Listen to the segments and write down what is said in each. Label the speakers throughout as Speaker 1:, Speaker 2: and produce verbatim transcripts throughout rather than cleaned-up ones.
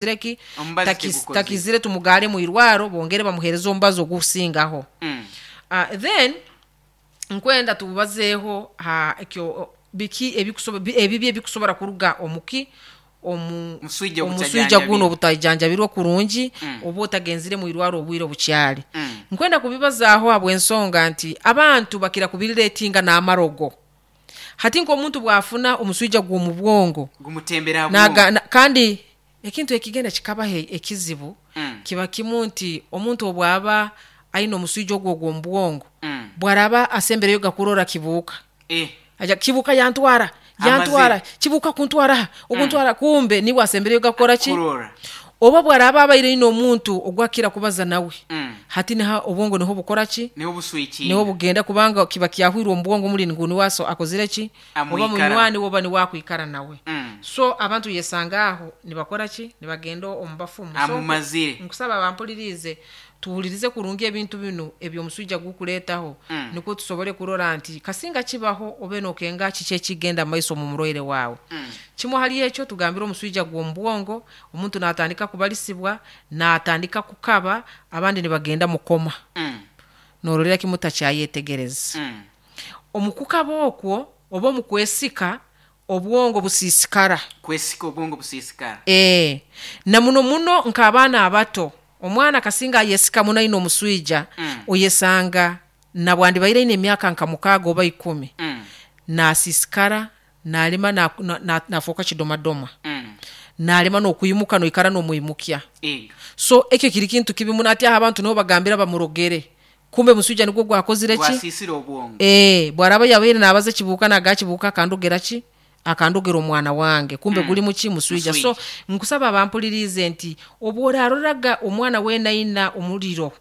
Speaker 1: Ki
Speaker 2: Omubazi
Speaker 1: takis-
Speaker 2: tegukozire.
Speaker 1: Takizire, tumugare mu irwaro bongere bamuhereze omubazi ogusingaho.
Speaker 2: Mm.
Speaker 1: uh, then nkwenda tubazeeho ha ekyo biki ebikusobo- bi- ebibi ebikusobora kuruga omuki omu
Speaker 2: Muswija.
Speaker 1: Omuswija guno
Speaker 2: obutajanjabirwe.
Speaker 1: Obutajanjabirwe kurungi
Speaker 2: Mm.
Speaker 1: oba otagenzire mu irwaro obwire obukyali.
Speaker 2: Mm.
Speaker 1: Nkwenda kubibazaaho habw'ensonga nti abantu bakira kubiriretinga n'amarogo. Hati nk'omuntu bwafuna omuswija gw'omu bwongo
Speaker 2: gumutembera ha
Speaker 1: naga,
Speaker 2: bwongo.
Speaker 1: na, kandi ekintu ekigenda kikabaho ekizibu
Speaker 2: Mm.
Speaker 1: kiba kimu nti omuntu obwaba aine omuswija ogwo ogw'omu bwongo,
Speaker 2: Mm.
Speaker 1: bwaraba asembereyo gakurora kibuuka,
Speaker 2: Eh.
Speaker 1: aja kibuuka yantwara, yantwara.
Speaker 2: Amazire.
Speaker 1: Kibuuka kuntwara aha oguntwara, kumbe niwe asembereyo gakora ki?
Speaker 2: Kurora.
Speaker 1: Oba bwaraba abaire ine omuntu ogwakira kubaza nawe,
Speaker 2: Mm.
Speaker 1: hati niha obwongo niho bukora ki?
Speaker 2: Niho buswikinga.
Speaker 1: Niho bugenda, kubanga kiba kyahwirwe omu bwongo muli ngu niwaso akozire ki oba
Speaker 2: Amwikara.
Speaker 1: munywani woba niwakwikara nawe.
Speaker 2: Mm.
Speaker 1: So abantu yesanga aho nibakora ki? Nibagenda omu bafumu. So,
Speaker 2: Amumazire.
Speaker 1: nkusaba bampulirize, tuwulirize kurungi ebintu binu ebyomuswija gukuleetaho,
Speaker 2: Mm.
Speaker 1: nikwo tusobole kurora nti kasinga kibaho obe nokenga kiki ekigenda mu maiso mu murwaire waawe.
Speaker 2: Mm.
Speaker 1: Kimwe hali ekyo tugambire, omuswija gw'omu bwongo, omuntu natandika kubalisibwa, natandika kukaba, abandi nibagenda mukoma,
Speaker 2: Mm.
Speaker 1: norolera kimu takyayetegereza.
Speaker 2: Mm.
Speaker 1: Omukukaba okwo oba omukwesika, obwongo busiisikara.
Speaker 2: Kwesika, obwongo busiisikara.
Speaker 1: E, na muno muno nk'abaana abato, omwana kasinga ayesika muno aine omuswija,
Speaker 2: Mm.
Speaker 1: oyesanga nabwandibaire aine emyaka nka mukaaga oba ikumi,
Speaker 2: Mm.
Speaker 1: nasiisikara, nalema nafuuka na, na, nafuuka kidomadoma,
Speaker 2: Mm.
Speaker 1: nalema n'okwimuka, noikara n'omwimukya.
Speaker 2: Ego.
Speaker 1: So ekyo kiri kintu kibi muno. Ati aho abantu nibo bagambira bamurogere, kumbe muswija nigwo gwakozire ki?
Speaker 2: Gwasiisire obwongo.
Speaker 1: E, bwaraba yabaire nabaza kibuuka, naga kibuuka akandogera ki, akandogera omwana wange, kumbe
Speaker 2: Mm.
Speaker 1: guli muki? Muswija.
Speaker 2: Muswija.
Speaker 1: So nkusaba bampulirize nti obworaroraga omwana wenaina omuliro,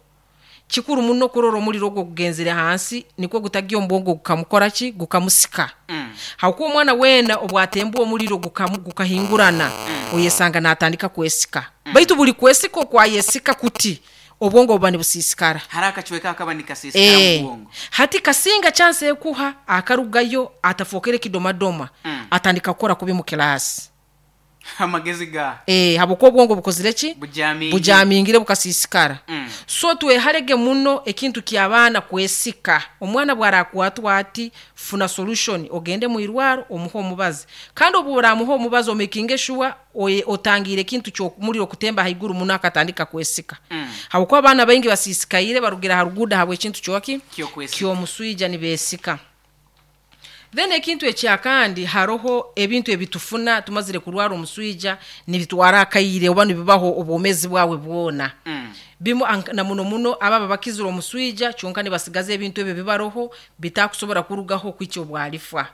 Speaker 1: kikuru muno kurora omuliro ogwo gugenzere hansi, nikwo gutagya omu bwongo gukamukora ki? Gukamusika.
Speaker 2: Mm.
Speaker 1: Hakuba omwana weena obwatembwa omuliro gukamu- gukahingurana, oyesanga natandika kwesika, baitu buli kwesika okwayesika kuti obwongo buba nibusiisikara.
Speaker 2: Hari akacweka akaba nikasiisikara
Speaker 1: Eh,
Speaker 2: mu bwongo.
Speaker 1: Hati kasinga chance ekuha akarugayo atafookere kidomadoma,
Speaker 2: Mm.
Speaker 1: atandika kukora kubi mu kilasi.
Speaker 2: Amagezi ga
Speaker 1: e, habwokuba obwongo bukozire ki?
Speaker 2: Bujamingire.
Speaker 1: Bujamingire, bukasiisikara.
Speaker 2: Mm.
Speaker 1: So tweharege muno ekintu ky'abaana kwesika. Omwana bwarakwatwa ati, funa solution, ogende mu irwaro omuhe omubazi, kandi obu oramuha omubazi omakinge sure oye- otangiire ekintu ky'omuliro kutemba haiguru muno akatandika kwesika,
Speaker 2: Mm.
Speaker 1: habwokuba abaana baingi basiisikaire barugira ha ruguudo habw'ekintu kyoki?
Speaker 2: Ky'okwesika.
Speaker 1: Ky'omuswija, nibeesika. Then ekintu ekyakandi, haroho ebintu ebitufuna tumazire kurwara omuswija, nibitwara akaire oba nibibaho obwomezi bwawe bwona.
Speaker 2: Mm.
Speaker 1: Bimu ank- na muno muno ababa bakizire omuswija kyonka nibasigaza ebintu ebyo bibaroho bitakusobora kurugaho kwikya obwalifa,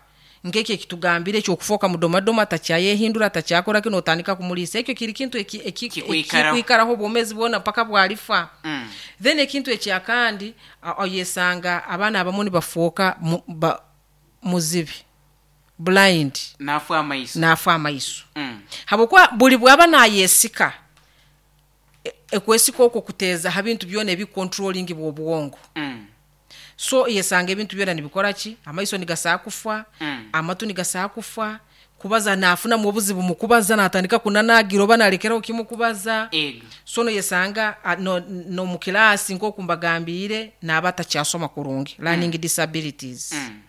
Speaker 1: nkekyo ekitugambire ekyokufoka mudomadoma, takyayehindura, takyakora kino, otandika kumulisa, ekyo kiri kintu eki- eki-
Speaker 2: Kikwikaraho.
Speaker 1: ekikwikaraho obwomezi bwona mpaka bwalifa.
Speaker 2: Mm.
Speaker 1: Then ekintu ekyakandi, a- oyesanga abaana abamu nibafuuka mu- ba- muzibi, blind.
Speaker 2: Nafa amaiso.
Speaker 1: Nafa amaiso,
Speaker 2: Mm.
Speaker 1: habwokuba buli bwaba nayesika, e- ekwesika okwo kuteeza ha bintu byona ebicontrolling bw'obwongo.
Speaker 2: Mm.
Speaker 1: So yesanga ebintu byona nibikora ki? Amaiso nigasaa kufa,
Speaker 2: Mm.
Speaker 1: amatu nigasaa kufa, kubaza nafunamu obuzibu mukubaza, natandika kunanagira oba nalekeraho kimu kubaza.
Speaker 2: Ego.
Speaker 1: So noyesanga a, no, no mu kilasi nk'oku mbagambiire naaba atakyasoma kurungi, learning disabilities.
Speaker 2: Mm.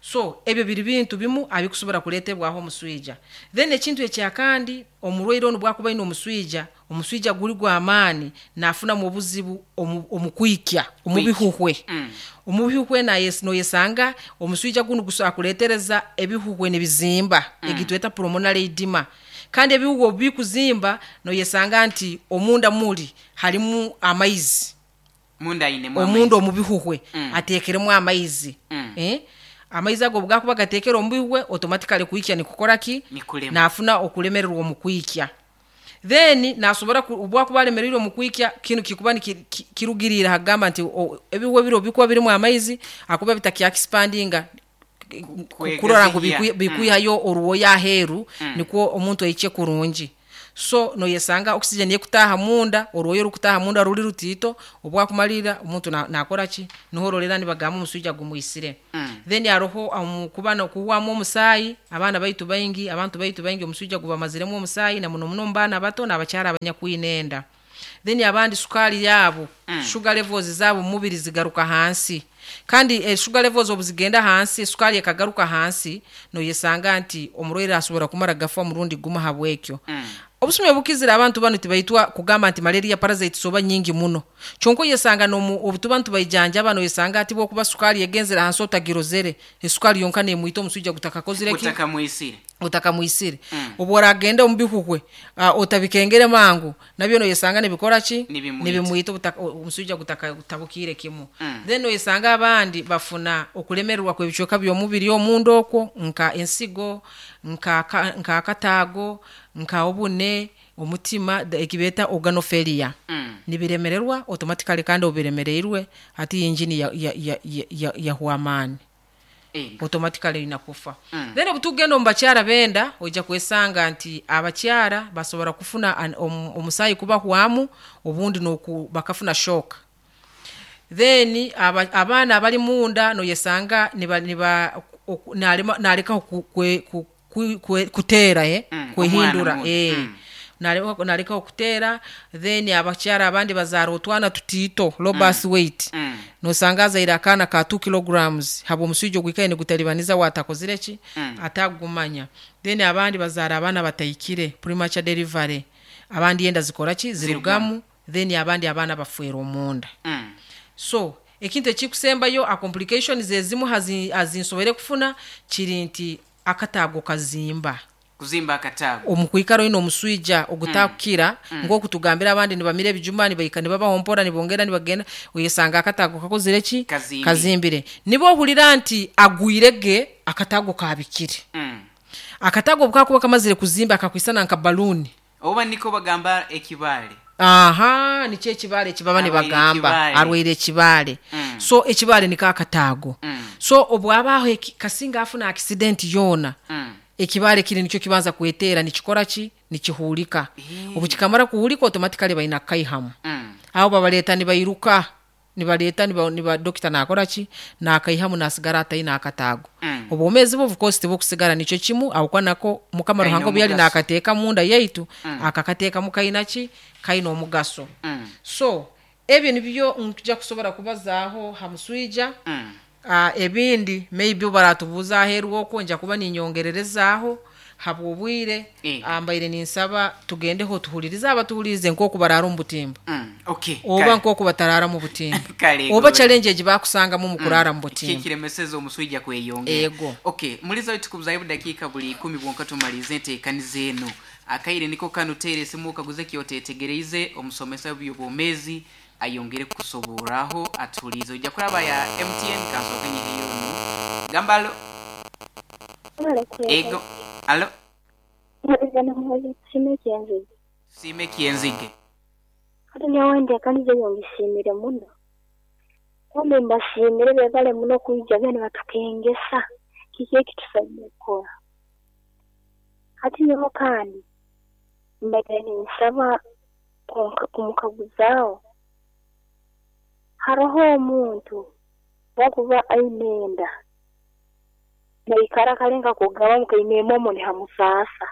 Speaker 1: So ebyo biri bintu bimu abikusobora kuleetebwaho omuswija. Then ekintu ekyakandi, omurwaire onu bwakuba aine omuswija, omuswija guli gw'amaani, nafunamu obuzibu omu- omu kwikya omu bihuhwe.
Speaker 2: Mm.
Speaker 1: Omu bihuhwe nayes- noyesanga omuswija gunu gusobola kuleetereza ebihuhwe nibizimba, mm. egitweta pulmonary edema. Kandi ebihuhwe obu bikuzimba, noyesanga nti omunda muli harimu amaizi.
Speaker 2: Munda ainemu
Speaker 1: Omunda
Speaker 2: amaizi.
Speaker 1: omu bihuhwe
Speaker 2: Mm.
Speaker 1: ateekeremu amaizi.
Speaker 2: Mm.
Speaker 1: Eh? Amaizi ago bwakuba gateekere omu bihuhwe, automatically kwikya nikukora ki?
Speaker 2: Nikulema.
Speaker 1: Nafuna okulemererwa omu kwikya. Then nasobora ku- obwakuba alemereirwe omu kwikya, kinu kikuba niki- ki- kirugiriire hagamba nti o- ebihuhwe biro bikuba birimu amaizi akuba bitakyakisipandinga kurora ngu
Speaker 2: Kwegaziya.
Speaker 1: bikwi- bikwihayo oruwoya aheeru, nikwo omuntu aikye kurungi. So noyesanga oxygen yekutaha munda, orwoyo rukutaha munda ruri rutito, obwakumalira omuntu nakora ki? Nohororera nibagamba omuswija gumwisire.
Speaker 2: Mm.
Speaker 1: Then aroho um, kubana kuwamu omusaayi, abaana baitu baingi, abantu baitu baingi omuswija gubamaziremu omusaayi, na muno muno mbaana bato n'abakyara abanyakwinenda. Then abandi sukali yabo,
Speaker 2: Mm.
Speaker 1: sugar levels zabo mubiri zigaruka hansi. Kandi eh, sugar levels obuzigenda hansi, sukali ekagaruka hansi, noyesanga nti omurwaire asobora kumara gafa murundi guma habwekyo.
Speaker 2: Mm.
Speaker 1: Obusumi obukizira abantu bano tibaitwa kugamba nti malaria parasites oba nyingi muno. Kyonko yesanga nomu obutuba ntubayijanja bano yesanga ati bwokuba sukali yegenzera hansi otagirozere, esukali yonka nemwita omusujja gutakakozire ki?
Speaker 2: Gutakamwisire.
Speaker 1: Gutakamwisire.
Speaker 2: Mm.
Speaker 1: Obworagenda omu bihuhwe, uh, otabikengere mangu, nabyo noyesanga nibikora ki?
Speaker 2: Nibimwita.
Speaker 1: Nibimwita omusujja gutakatabukire kimu.
Speaker 2: Mm.
Speaker 1: Then noyesanga abandi bafuna okulemererwa kw'ebicweka by'omubiri omunda okwo, nka ensigo, nka nka akataago, nka obune, omutima, ekibeta organofailure.
Speaker 2: Mm.
Speaker 1: Nibiremererwa automatically kandi obiremereirwe hati injini ya ya ya ya, ya, ya amaani.
Speaker 2: Eh.
Speaker 1: Automatically inakufa.
Speaker 2: Mm.
Speaker 1: Then obutugenda omu bakyara benda ojja kwesanga nti abakyara basobora kufuna omusaayi kubahwamu, obundi noku bakafuna shock. Then aba, abaana abali munda noyesanga niba niba naleka ku, ku, ku, kuteera eh
Speaker 2: Mm,
Speaker 1: kwehindura
Speaker 2: omwana
Speaker 1: eh
Speaker 2: mm.
Speaker 1: naleka naleka okuteera. Then abakyara abandi bazara otwana tutito low birth
Speaker 2: mm.
Speaker 1: weight.
Speaker 2: Mm.
Speaker 1: Nosanga zaira akana ka two kilograms habo omusujja ogwikaye nigutalibaniza watakozire ki?
Speaker 2: Mm.
Speaker 1: Atagumanya. Then abandi bazara abaana batayikire premature delivery, abandi yenda zikora ki? Zirugamu. Then abandi abaana bafwera omunda.
Speaker 2: Mm.
Speaker 1: So ekintu ekikusembayo a complications ezimu azinsobere kufuna kiri nti akataago kazimba.
Speaker 2: Kuzimba akataago.
Speaker 1: Omukwikaro ino omuswija ogutakukira,
Speaker 2: mm.
Speaker 1: ng'okutugambira abandi nibamira ebijuma nibaika nibabahompora nibongera nibagenda, oyesanga akataago kakozire ki?
Speaker 2: Kazimbire.
Speaker 1: Kazimbire. Nibo ohulira nti agwirege akataago kabikire.
Speaker 2: Mm.
Speaker 1: Akataago bukakuba kamazire kuzimba akakwisana nka balloon.
Speaker 2: Oba niko bagamba ekibale.
Speaker 1: Aha, nikyo ekibale ekibaba nibagamba arwaire ekibale.
Speaker 2: Mm.
Speaker 1: So ekibale niko akataago.
Speaker 2: Mm.
Speaker 1: So obwabaho kasinga afuna accident yona.
Speaker 2: Mm.
Speaker 1: Ekibale kiri nikyo kibanza kwetera nikikora ki? Nikihulika.
Speaker 2: Mm.
Speaker 1: Obukikamara kuhulika automatically baina kaihamu.
Speaker 2: Mm.
Speaker 1: Aho babaleta nibairuka, nibaleta niba, niba doctor nakora ki? Nakaihamu nasigara ataina akataago.
Speaker 2: Mm.
Speaker 1: Obwomezi bo of course tibukusigara nikyo kimu awukwa nako Mukama
Speaker 2: Kaina
Speaker 1: Ruhanga byali
Speaker 2: omugaso.
Speaker 1: nakateeka munda yaitu,
Speaker 2: Mm.
Speaker 1: akakateeka mukaina ki? Kaina omugaso.
Speaker 2: Mm.
Speaker 1: So ebyo nibyo nkuja kusobora kubazaaho ha muswija.
Speaker 2: Mm.
Speaker 1: Uh, ebindi maybe baratubuza aheru okwo nja kuba ninyongererezaaho habwobwire.
Speaker 2: Eh.
Speaker 1: Ambaire ninsaba tugendeho tuhulirize abatuhulirize nk'oku barara omu butimba.
Speaker 2: Mm. Okay.
Speaker 1: Oba nk'oku batarara mu butimba.
Speaker 2: Kale,
Speaker 1: Oba
Speaker 2: gwe.
Speaker 1: challenge egi bakusangamu mu kurara mu butimba.
Speaker 2: Kikiremeseza omuswija kweyongera.
Speaker 1: Ego.
Speaker 2: Okay, muliza wetu kubuzayo dakika buli ikumi bwonka tumalize enteekaniza eno. Akaire niko kano tere esimu kaguze kyotetegereize omusomesa w'ebyobwomezi ayongere kusoboraho atulize. Ojja kulaba ya M T N kansooke nyiheyo ono. Gamba alo. Ego. Alo. Sime kienzige.
Speaker 3: Hati nyowe nteekaniza eyo ngisiimire muno. Kumbe mbasiimire beebale muno kwija bene batukengesa kiki ekitusaine kukora. Hati nyowe kandi mbaire ninsaba kumukaguzaaho. Haroho omuntu wakuba aine enda naikara kalenga kugaba mukaine emomo nihamusaasa.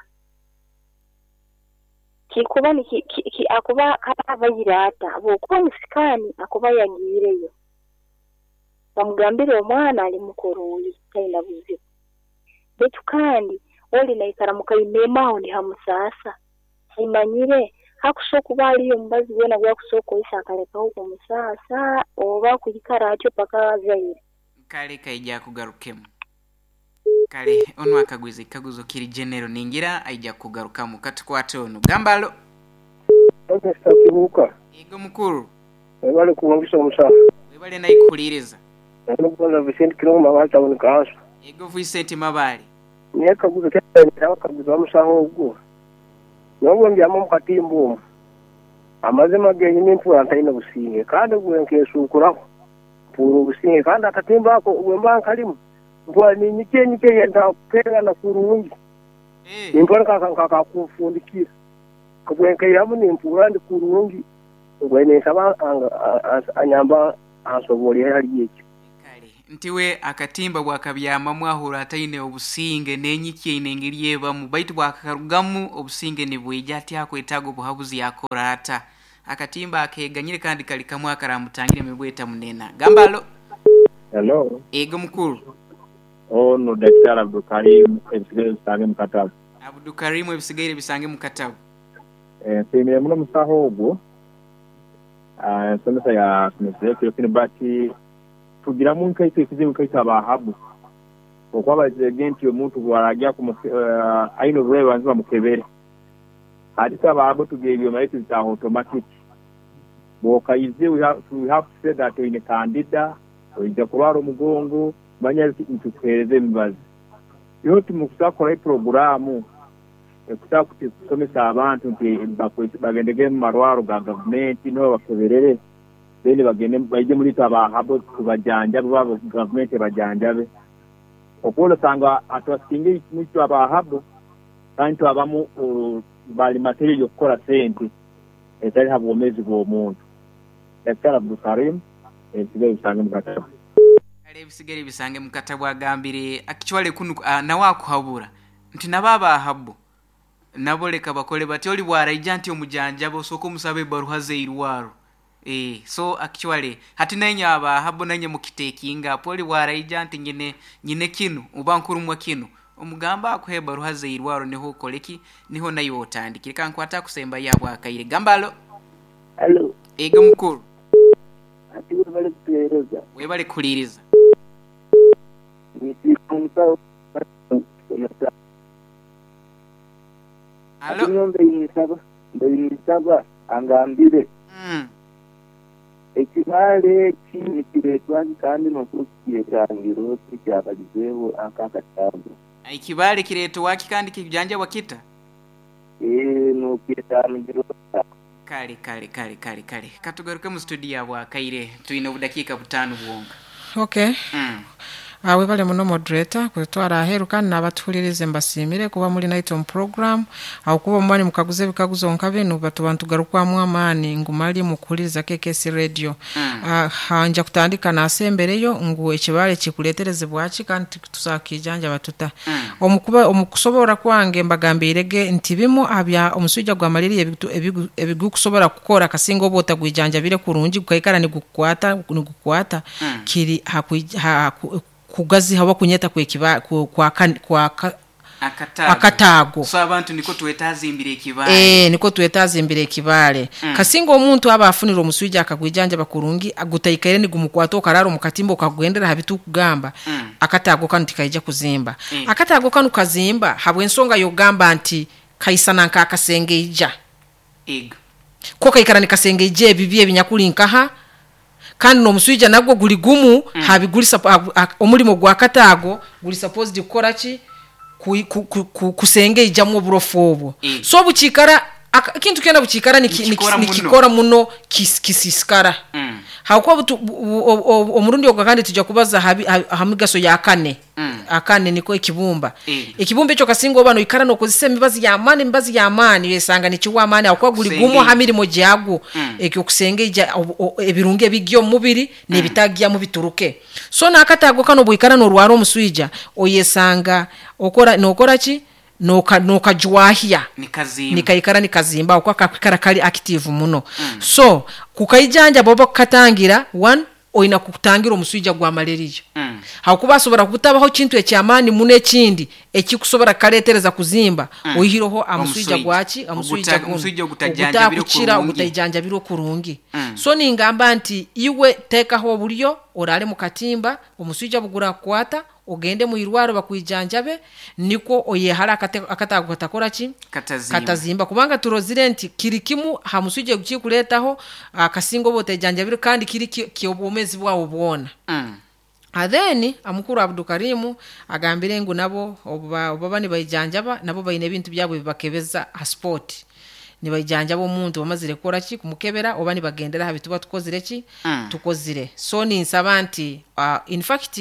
Speaker 3: Kikuba ni ki, ki, ki, akuba abayire ata bwokuba musikani akuba yagiireyo bamugambire omwana ali mukoroli taina buzibu, baitu kandi oli naikara mukaine emaho nihamusaasa. Kimanyire hakusobola kuba aliyo omubazi gwena gwakusobola kukozesa akalekaho kumusaasa oba kuikara atyo paka azaire.
Speaker 2: Kale kaija kugarukemu. Kale ono akagwiza ekaguzo kiri general ningira aija kugarukamu katukwate ono. Gamba alo.
Speaker 4: Mister Kibuuka.
Speaker 2: Ego mukuru.
Speaker 4: Webale kuwangisa omusaha.
Speaker 2: Webale naikuhuliriza.
Speaker 4: Nkubanza Vicente Kirongo Mabale Town Council.
Speaker 2: Ego Vicente Mabale.
Speaker 4: Niye kaguzo kyenda kaguzo omusaho ogwo. Nobwo mbyama mu katimba omwo. Amazima genyini mpura ntaine businge kandi gwe nkesuukuraho. Mpura obusinge kandi akatimba ako gwe mba nkalimu. Mpura ninyike nyike ntakupeera na kurungi.
Speaker 2: Eh.
Speaker 4: Nimpura nkakakufundikira. Bwenkaihamu nimpuura ndi kurungi, mbwenu ninsaba anyamba ansoborere hali ekyo.
Speaker 2: Kale ntiwe akatimba bwakabyamamu ahura ataine obusinge n'enyiki eine engeri ebamu, baitu bwakarugamu obusinge nibwija ati akwetaaga obuhabuzi yakora ata. Akatimba akeganyire kandi kali kamwe akaramutangire emibweta munena. Gamba alo.
Speaker 5: Hello.
Speaker 2: Ego mukuru.
Speaker 5: Ono Daktari Abdulkarim ebisigaire bisange mu katabo.
Speaker 2: Abdulkarim ebisigaire bisange mu katabo.
Speaker 5: Eh, nsiimire muno omusaho ogwo. Ah, ensomesa ya somesere kino bati tugiramu nkaitwe ekizibu nkaitwe abahabu. Okuba bazege nti omuntu bw'arajya uh, aine oburwaire banza bamukebere. Ati twe abahabu tugira ebyoma bitu bita automatic. Bw'okaize we have, we have to say that oine candida, oija kurwara omugongo, manya nitukuheereza emibazi. Yo timukusakora poroguramu ekusa kusomesa abantu nti bagendege mu marwaro ga gavumenti nibo bakeberere, then bagende baije muri twe abahabo tubajanjabe, baba gavumenti bajanjabe. Okuba osanga atwasinga mwitwe abahabo kandi twabamu bali material yokukora sente etali ha bwomeezi bw'omuntu. Daktari Abdulkarim ebisigaire bisange mu katabo.
Speaker 2: Kale ebisigaire bisange mu katabo agambire akichwale kunu uh, nawe akuhabura nti nabo abahabo nabo leka bakole bati oli bwaraija nti omujanjaba osooka omusabe ebaruha zeirwaro. Eh, so actually hati nenye abahabo nenye mukitekinga apo oli bwaraija nti nyine nyine kinu oba nkurumwa kinu omugamba akuhe ebaruha zeirwaro niho okoleki niho nayo otandikire. Kankwata kusemba yabwa akaire. Gambalo.
Speaker 6: Hello.
Speaker 2: Ego mukuru.
Speaker 6: Ati webale kutuheereza.
Speaker 2: Webale kuhuliriza. Alo.
Speaker 6: Alo. Mbeyinsaba angambire.
Speaker 2: Mm.
Speaker 6: Ekibale eki nikireetwa kandi n'okukyetangiro kyabalizeeho akakatabu.
Speaker 2: Ekibale kireetwa ki kandi kijanjabwa kita?
Speaker 6: Eh, n'okyetangiro.
Speaker 2: Kale kale kale kale kale. Katugaruke mu studio yabwa akaire twine obudakiika butaano bwonka.
Speaker 1: Okay.
Speaker 2: Mm.
Speaker 1: Awe bale muno moderator kutwara aheru kandi n'abatuhulirize mbasiimire kuba muri night on program aho kuba omwani mukaguze ebikaguzo nka binu batuba ntugarukwamu amaani ngu mali mukuhuliriza K K C radio.
Speaker 2: Mm.
Speaker 1: Uh, hanja kutandika nasembereyo ngu ekibale kikuleterezebwa ki kandi tusakijanja batuta.
Speaker 2: Mm.
Speaker 1: Omukuba omukusobora kwange mbagambirege nti bimu abya omusujja gwa malaria ebigukusobora kukora kasinga oba otagwijanjabire kurungi gukaikara nigukwata nigukwata
Speaker 2: Mm.
Speaker 1: kiri haku, haku kugazi hawa kunyeta kwekiba kwa kwa
Speaker 2: akatago.
Speaker 1: Akatago.
Speaker 2: So abantu niko twetazimbire ekibale.
Speaker 1: Eh, niko twetazimbire ekibale.
Speaker 2: Mm.
Speaker 1: Kasinga omuntu aba afunira omusujja akagwijanja bakurungi agutaikaire nigumukwata okararo mukatimbo okagendera habitu kugamba.
Speaker 2: Mm.
Speaker 1: Akatago kanu tikaija kuzimba.
Speaker 2: Mm.
Speaker 1: Akatago kanu kazimba habwensonga yogamba nti kaisana nka akasengeija.
Speaker 2: Ego.
Speaker 1: Ko kaikara nikasengeija ebibi ebinyakuli nkaha kandi n'omusujja nagwo guli gumu
Speaker 2: Mm.
Speaker 1: habigulisa omulimo gwa katago guli supposed kukora ki kusengeija mu oburofu obwo.
Speaker 2: Mm.
Speaker 1: So buchikara kintu kyona buchikara
Speaker 2: Nikikora muno.
Speaker 1: nikikora muno kis, kisisikara.
Speaker 2: Mm.
Speaker 1: Hakuba omurundi ogwo kandi tujja kubaza hamigaso ya kane.
Speaker 2: Mm.
Speaker 1: Akane niko ekibumba.
Speaker 2: Mm.
Speaker 1: Ekibumba ekyo kasinga oba noikara nokozesa emibazi ya amani emibazi ya amani yesanga nikiwa amani hakuba guli
Speaker 2: Kusenge.
Speaker 1: gumu hamirimo gyagwo.
Speaker 2: Mm.
Speaker 1: Ekyo kusengeija ebirungi ebigya omu mubiri n'ebitagya mu bituruke. So n'akatago kano bwikara norwara omuswija oyesanga okora nokora ki noka nokajwahia
Speaker 2: nikazimba
Speaker 1: nikaikara nikazimba okwa kakikara kali active muno.
Speaker 2: Mm.
Speaker 1: So kukaijanja bobo kukatangira one oina kukutangira omuswija gwa malaria.
Speaker 2: Mm.
Speaker 1: Hakuba asobora kutabaho kintu ekyamaani muno ekindi ekikusobora kaletereza kuzimba
Speaker 2: Mm.
Speaker 1: oyihireho amuswija
Speaker 2: Omuswija.
Speaker 1: gwaki amuswija
Speaker 2: Oguta-
Speaker 1: guno.
Speaker 2: omuswija ogutajanjabire
Speaker 1: Ogutakukira,
Speaker 2: kurungi.
Speaker 1: ogutajanjabire kurungi.
Speaker 2: Mm.
Speaker 1: So ningamba nti iwe teekaho oburyo orale mu katimba omuswija bugura kukwata ogende mu irwaro bakwijanjabe niko oyehara akatago katakora ki
Speaker 2: katazimba
Speaker 1: katazimba kubanga turozire nti kiri kimu ha muswija gukikuretaho akasingo botejanjabire kandi kiri kyobwomezi bwawo bwona.
Speaker 2: Mm.
Speaker 1: Then amukuru Abdukarimu agambire ngu nabo oba oba nibaijanjaba nabo baine ebintu byabwe bibakebeza ha sport nibaijanjaba omuntu bamazire kukora ki kumukebera oba nibagendera ha bituba tukozire ki
Speaker 2: Mm.
Speaker 1: tukozire. So ninsaba nti uh, in fact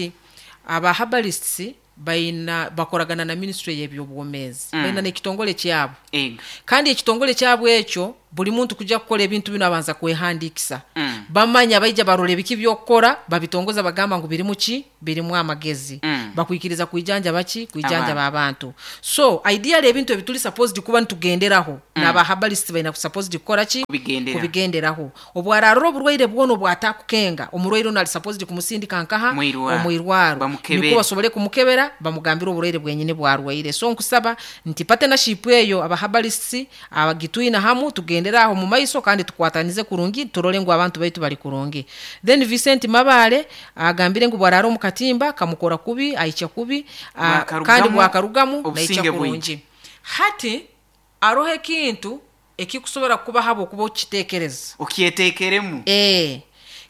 Speaker 1: aba herbalists Baina bakoragana na ministry y'ebyobwomeezi.
Speaker 2: Mm.
Speaker 1: Baina n'ekitongole kyabo.
Speaker 2: Ego.
Speaker 1: Kandi ekitongole kyabo ekyo buli muntu kujja kukola ebintu bino abanza kwehandiikisa.
Speaker 2: Mm.
Speaker 1: Bamanya baija barora ebiki by'okukora, babitongoza bagamba ngu birimu ki? Birimu amagezi.
Speaker 2: Mm.
Speaker 1: Bakwikiriza kwijanjaba ki? Kwijanjaba abantu. So ideally ebintu ebituli supposed kuba nitugenderaho,
Speaker 2: Mm.
Speaker 1: n'aba herbalist baina supposed kukora ki?
Speaker 2: Kubigendera.
Speaker 1: Kubigenderaho. Obwararora oburwaire bwona obwatakukenga, omurwaire ono ali supposed kumusindika nkaha?
Speaker 2: Mwirwaro.
Speaker 1: Omwirwaro.
Speaker 2: Bamukebere.
Speaker 1: Niko basobole kumukebera, bamugambire oburwaire bwenyine bwarwaire. So nkusaba nti partnership eyo aba herbalists abagitwina hamu tugendera aho mu maiso kandi tukwatanize kurungi, turole ngu abantu baitu bali kurungi. Then Vincent Mabale agambire ngu bwarara omu katimba kamukora kubi, aicha kubi, a,
Speaker 2: Bwakarugamu,
Speaker 1: kandi bwakarugamu naicha
Speaker 2: obusinge bwingi.
Speaker 1: kurungi. Hati aroho ekintu ekikusobora kuba habo okuba okiteekereza.
Speaker 2: Okyeteekeremu.
Speaker 1: Eh.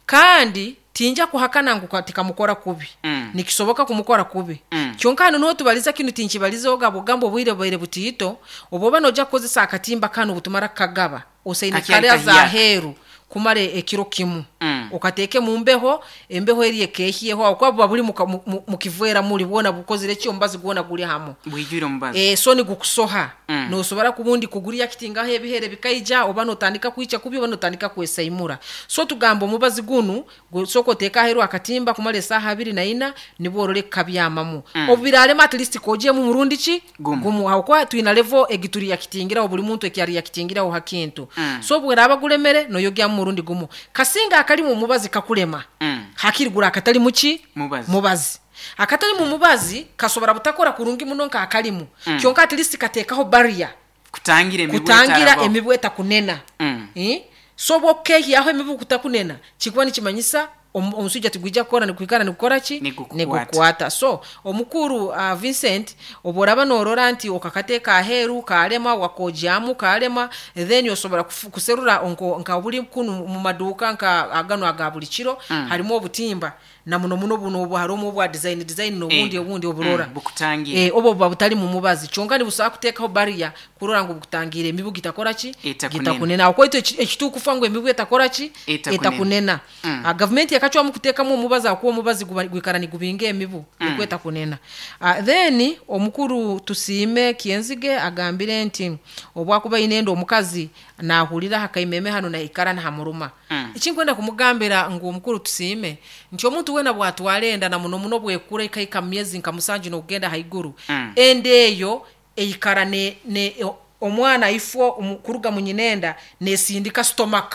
Speaker 1: Kandi tinja kuhakana ngu ka-, tikamukora kubi.
Speaker 2: Mm.
Speaker 1: Nikisoboka kumukora kubi.
Speaker 2: Mm.
Speaker 1: Kyonka hano niho tubaliza kinu tinkibaliza ogabo gamba obwire bwaire butiito, oboba noja kukozesa akatimba kano butumara kagaba, osaine
Speaker 2: Kakyali
Speaker 1: kare za
Speaker 2: kahiya.
Speaker 1: heru kumara ekiro kimu.
Speaker 2: Mm.
Speaker 1: Okateeke mu mbeho, embeho eri ekehiyeho, aho kuba buba buri muka-, mu-, mu-, mu kiveera muri bwona bukozire ki omubazi gwona guri hamwe.
Speaker 2: Bwijwire omubazi.
Speaker 1: Eh, so nigukusoha.
Speaker 2: Mm.
Speaker 1: Nosobora kubundi kuguria kitingaho ebihere bikaija, oba notandika kwica kubi, oba notandika kwesaimura. So tugamba omubazi gunu, gu-, soko oteeka aheru akatimba kumara esaaha abiri na ina, nibwo orore kukabyamamu.
Speaker 2: Mm.
Speaker 1: Obu birarema at least kojemu murundi ki?
Speaker 2: Gumu.
Speaker 1: Gumu. Aho kwa twina level egituri yakitingiraho, buri muntu ekyari yakitingiraho hakintu.
Speaker 2: Mm.
Speaker 1: So bweraba gulemere noyogya murundi gumu. Kasinga akali mu mubazi kakulema.
Speaker 2: Mm.
Speaker 1: Hakiri gura akatali muki?
Speaker 2: Mubazi.
Speaker 1: Mubazi. Akatali mu mubazi kasobora butakora kurungi muno nka akalimu.
Speaker 2: Mm.
Speaker 1: Kyonka at least katekaho barrier.
Speaker 2: Kutangira emibu
Speaker 1: Kutangira
Speaker 2: etaraba.
Speaker 1: emibu etakunena.
Speaker 2: Mm.
Speaker 1: Eh? So bwokehi aho emibu kutakunena, kikuba nikimanyisa omu-, omusujja tigwijja kukora nikuikara nikukora ki?
Speaker 2: Nigukukwata.
Speaker 1: Nigukukwata. So omukuru, uh, Vincent oboraba norora nti okakateeka aheru kalema wakojamu kalema, then osobola kufu-, kuserura onko nka buli kunu mu maduuka nka agano aga buli kiro,
Speaker 2: Mm.
Speaker 1: harimu obutimba na muno muno buno obu harimu obwa design, design n'obundi
Speaker 2: Eh.
Speaker 1: obundi oburora.
Speaker 2: Mm, bukutangira.
Speaker 1: Eh, obo buba butali mu mubazi kyonka nibusobola kuteekaho barrier kurora ngu bukutangira emibu gitakora ki?
Speaker 2: Etakunena.
Speaker 1: Gitakunena. Aho kwaitu eki-, ekituukufa ngu emibu etakora ki?
Speaker 2: Etakunena.
Speaker 1: Etakunena.
Speaker 2: Mm.
Speaker 1: Ah, gavumenti yakacwamu kuteekamu omubazi akuwa omubazi guba-, gwikara nigubinga emibu,
Speaker 2: Mm.
Speaker 1: nikwo etakunena. Ah, then omukuru Tusiime Kyenzige agambire nti obwakuba aine omukazi nahurira hakaimeme hano naikara nahamuruma.
Speaker 2: Mm.
Speaker 1: Ekinkwenda kumugambira ngu omukuru Tusiime nti omuntu wena bwatwara enda na muno muno bwekura ekaika mu myezi nka musanju n'okugenda haiguru,
Speaker 2: Mm.
Speaker 1: enda eyo eikara ne, ne, omwana ifo omu-, kuruga mu nyinenda nesindika stomach.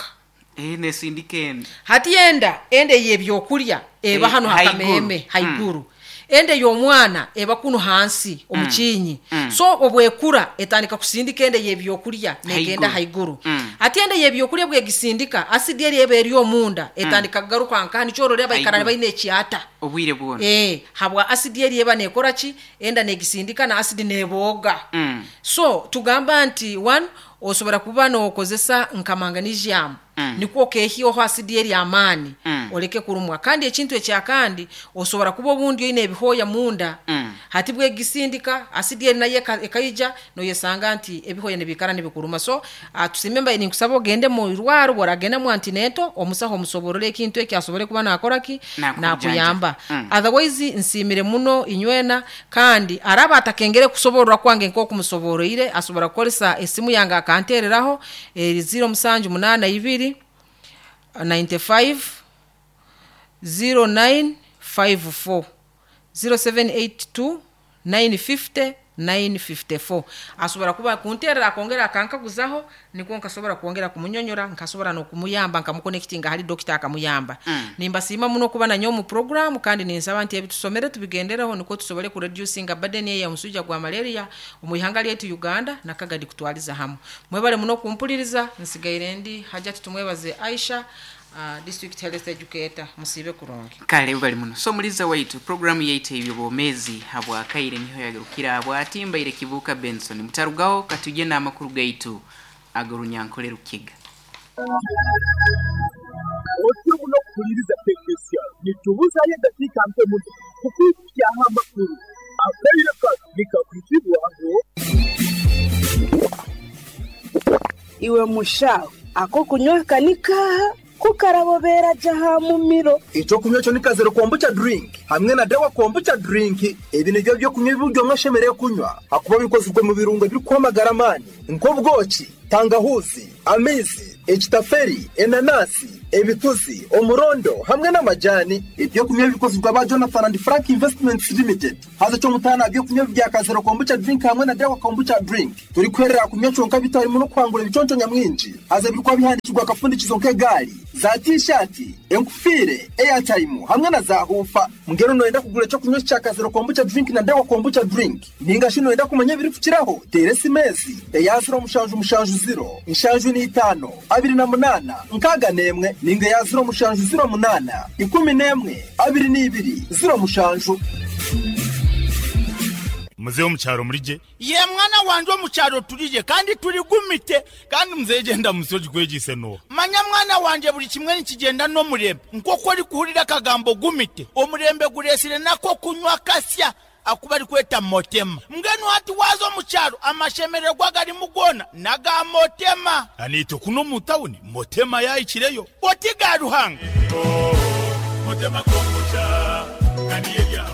Speaker 2: Eh, nesindika enda.
Speaker 1: Hati enda, enda ey'ebyokurya eba
Speaker 2: Eh,
Speaker 1: hano
Speaker 2: haiguru.
Speaker 1: hakameme,
Speaker 2: Mm.
Speaker 1: haiguru. Enda y'omwana eba kuno hansi
Speaker 2: Mm.
Speaker 1: omukinyi.
Speaker 2: Mm.
Speaker 1: So obwekura etandika kusindika enda y'ebyokurya negenda
Speaker 2: Haiguru.
Speaker 1: haiguru.
Speaker 2: Mm.
Speaker 1: Ati enda y'ebyokurya bwegisindika asidi eri eba eri omunda
Speaker 2: Mm.
Speaker 1: etandika kugaruka nka nikyorora baikara
Speaker 2: Haiguru.
Speaker 1: baine ekyata.
Speaker 2: Obwire bwona.
Speaker 1: Eh, habwa asidi eri eba nekora ki? Enda negisindika na asidi neboga.
Speaker 2: Mm.
Speaker 1: So tugamba nti one osobola kuba nokozesa nka manganesium.
Speaker 2: Mm.
Speaker 1: Nikwo okehioho asidi eri amaani.
Speaker 2: Mm.
Speaker 1: Oleke kurumwa. Kandi ekintu ekyakandi osobola kuba obundi oine ebihoya munda.
Speaker 2: Mm.
Speaker 1: Hati bwegisindika asidi eri nayo eka-, ekaija noyesanga nti ebihoya nibikara nibikuruma. So, ah, tusime mbaye ninkusaba ogende mu irwaro, bworagenda mu antenatal omusaho omusoborore ekintu eki asobole kuba nakora ki?
Speaker 2: Nakujanja.
Speaker 1: Nakuyamba.
Speaker 2: Mm.
Speaker 1: Otherwise nsimire muno inywena, kandi araba atakengere kusoborora kwange nk'okumusoboroire asobora kukozesa esimu yange akantereraho eri zero musanju munana ibiri ninety-five zero nine five four zero seven eight two nine fifty nine fifty four. Asobora kuba kunterera akongera akankaguzaho nikwo nkasobora kwongera kumunyonyora, nkasobora n'okumuyamba nkamuconnectinga hali doctor akamuyamba.
Speaker 2: Mm.
Speaker 1: Nimbasiima muno kuba nanyo mu program, kandi ninsaba nti ebitusomere tubigendereho nikwo tusobole kureducinga burden eya omusujja gwa malaria omu ihanga lyaitu Uganda nakagadi kutwaliza hamu. Mwebale muno kumpuliriza, nsigaire ndi Hajati Tumwebaze Aisha, uh, district health educator. Musibe kurungi.
Speaker 2: Kale bali muno. So muliza waitu programu yaitu ebyobomezi habwa kaire niho yagarukira habwa atimbaire Kibuuka Benson mutarugaho katuje n'amakuru gaitu ag'orunyankole Rukiga.
Speaker 7: Otyo muno kuhuliriza tekinisiya nitubuzayo eddakiika nto muno kukwikyaho amakuru akaire kano nikakwitibwaho.
Speaker 8: Iwe mushaho ako kunywa kanika Kukarabobera jaha mumiro.
Speaker 7: Ekyokunywa kyo ni kazero kombucha drink hamwe na dawa kombucha drink. Ebi nibyo byokunywa ibiryo mwashemereye kunywa hakuba bikozwe mu birungo biri kwamagara amani nk'obwoki, tangahuzi, amaizi, ekitaferi, enanasi, ebituzi, omurondo hamwe n'amajani. Ibyo kunywa bikozwe aba Jonathan and Frank Investments Limited. Haza cyo mutana byo kunywa bya kazero kombucha drink hamwe na dawa kombucha drink turi kwerera kunywa cyonka bitarimo no kwangura ibiconco nyamwinji. Haza birikwa bihandikirwa akapfundikizo nk'egari za t-shirt, enkufire, airtime hamwe na za hufa. Mungero noyenda kugura cyo kunywa cya kazero kombucha drink na dawa kombucha drink ninga shino yenda kumenya biri kukiraho tere simezi eya zero mushanju mushanju zero inshanju ni itano abiri na munana nkaga nemwe ninga ya zero mushanju zero munana ikumi nemwe abiri n'ibiri zero mushanju.
Speaker 9: Muzehe wo mu cyaro muri je
Speaker 10: ye mwana wanje wo mu cyaro turije kandi turi gumite
Speaker 9: kandi muzehe genda musoji kwegise no
Speaker 10: manya mwana wanje buri kimwe nikigenda no murembe nkoko ari kuhurira akagambo gumite omurembe guresire nako kunywa kasya akuba ari kweta motema mbwenu hati wazo mu cyaro amashemererwa gari mugona naga motema
Speaker 9: anito kuno mu tawuni motema yayikireyo
Speaker 10: otiga ruhanga
Speaker 9: oh, motema kombucha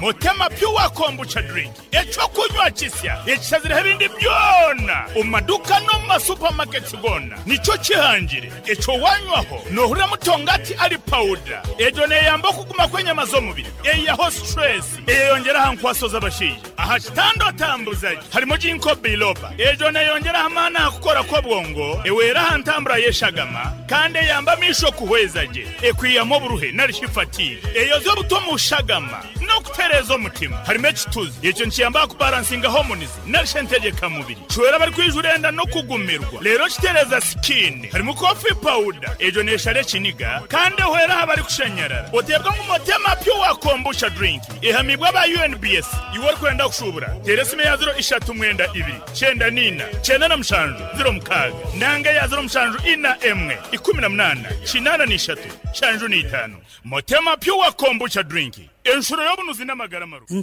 Speaker 9: Motema pure kombucha drink echo kunywa kisya ekisazira ebindi byona omumaduka no mu masupamaketi gona nico kihangire echo wanywaho nohurira mutongati ari powder ejo neyamba okuguma kw'enyama z'omubiri eyaho stress eyeyongeraho nkwaso z'abashaija aha kitando tambuzaji harimo jinko biloba ejo neyongeraho amaani aha kukora kw'obwongo ewera aha ntambura y'eshagama kandi eyamba amisho kuhweza gye ekwiyamu oburuhe narishi fatigue eyoza obuto mu shagama no kutereza omutima harimo ekituzi ekyo nkiyamba kubalansinga hormones narishe ntegeka mubiri cwera bari kwijurenda no kugumirwa rero kitereza skin harimo coffee powder ejo neshare kiniga kandi ehwera aha bari kushanyarara otebwa nk'umutema pure kombucha drink ihamibwa ba U N B S iwe kwenda kushubura teresime ya zero ishatu mwenda ibiri cyenda nina cyenda na mushanju zero mukaga nanga ya zero mushanju ina emwe ikumi na munana kinana n'ishatu shanju n'itanu motema pure kombucha drink enshuro y'obunuzi n'amagara maru.